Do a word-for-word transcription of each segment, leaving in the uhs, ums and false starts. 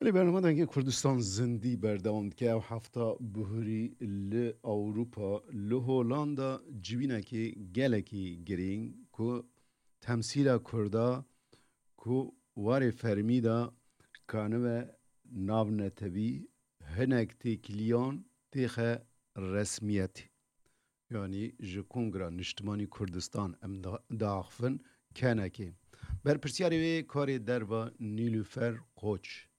Belê, bernama Dengê Kurdistan zindî berdewam dike. Ew hefta bihurî li Ewropa, li Holanda civînekê gelekî girîng ku temsîla Kurda ku warê fermî de kanibe navnetewî hinek têkiliyan têxe resmiyetê. Yanî ji Kongra Niştimanî Kurdistan em da-, diaxivin kenekê. Berpirsiyarê wê karê derva Nîlûfer Koç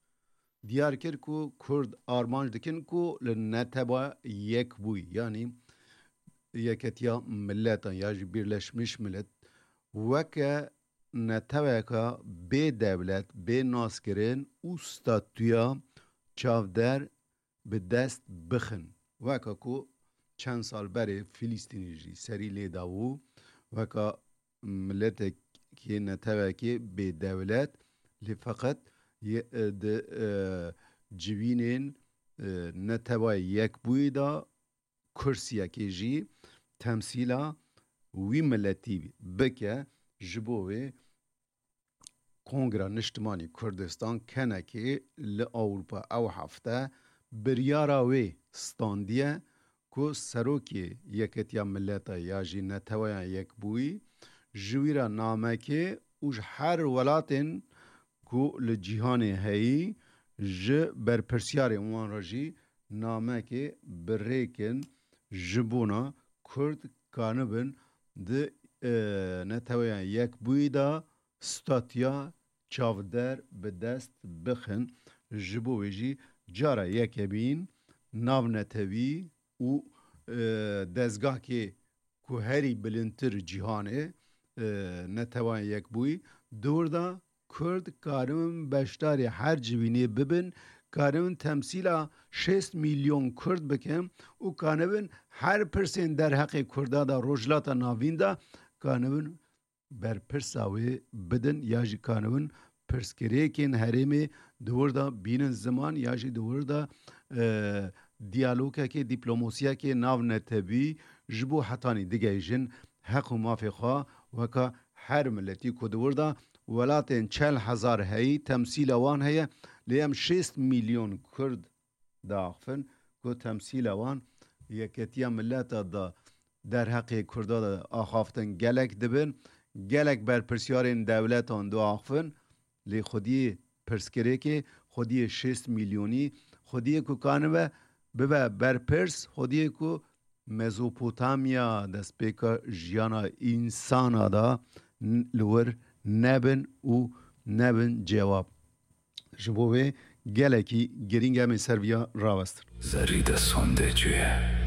diyar kir ku Kurd armanc dikin ku li netewa yekbûyî, yanî Yeketiya Miletan ya jî Birleşmiş Millet, weke neteweka bê dewlet, bê naskirin û statûya çavdêr bi dest bixin. Weka ku çend sal berê Filîstînî jî serî lê dabû, weka miletekê, netewekê bê dewlet, lê feqet ye-, e, di, e, civînên, e, Netewa Yekbûyî de kursiyekê jî temsîla wî miletî bike, ji bo wê Kongra Niştimanî Kurdistan kenekê li Ewropa ew hefte biryara wê standiye ku Serokê Yeketiya Mileta ya jî Neteweyan Yekbûyî ji wî re namekê û ji her welatên ku li cîhanê heyî ji berpirsiyarên wan re jî namekê bi rêkin ji bona Kurd kanibin di, e, Neteweyan Yekbûyî de statiya çavdêr bi dest bixin. Ji bo wê jî cara yekemîn navnetewî û, e, dezgahkê ku herî bilindtir cîhanê, e, Neteweyan Yekbûyî, di wir de Kurd karibin beşdarî her civînê bibin, karibin temsîla şêst milyon Kurd bikin û kanibin her pirsên derheqê Kurda de Rojhilata Navîn de kanibin berpirsa wê bidin ya jî kanibin pirsgirêkên herêmê di wir de bînin ziman ya jî di wir de, e, diyalogekê, dîplomosiyekê navnetewî ji bo hetanî digihîjin heq û mafê xwe weka her miletî ku di wir de welatên çel hezar heyî temsîla wan heye, lê em şêst milyon Kurd diaxifin ku temsîla wan Yeketiya Mileta de derheqê Kurda de axaftin gelek dibin, gelek berpirsiyarên dewletan diaxifin, lê xwediyê pirsgirêkê, xwediyê şêst milyonî, xwediyê ku kanibe bibe berpirs, xwediyê ku Mezopotamya destpêka jiyana însana de n-, li wir nebin û nebin cewab. Ji bo wê gelekî girîng em ê ser viya rawestin. Zerrî de sonde cuye.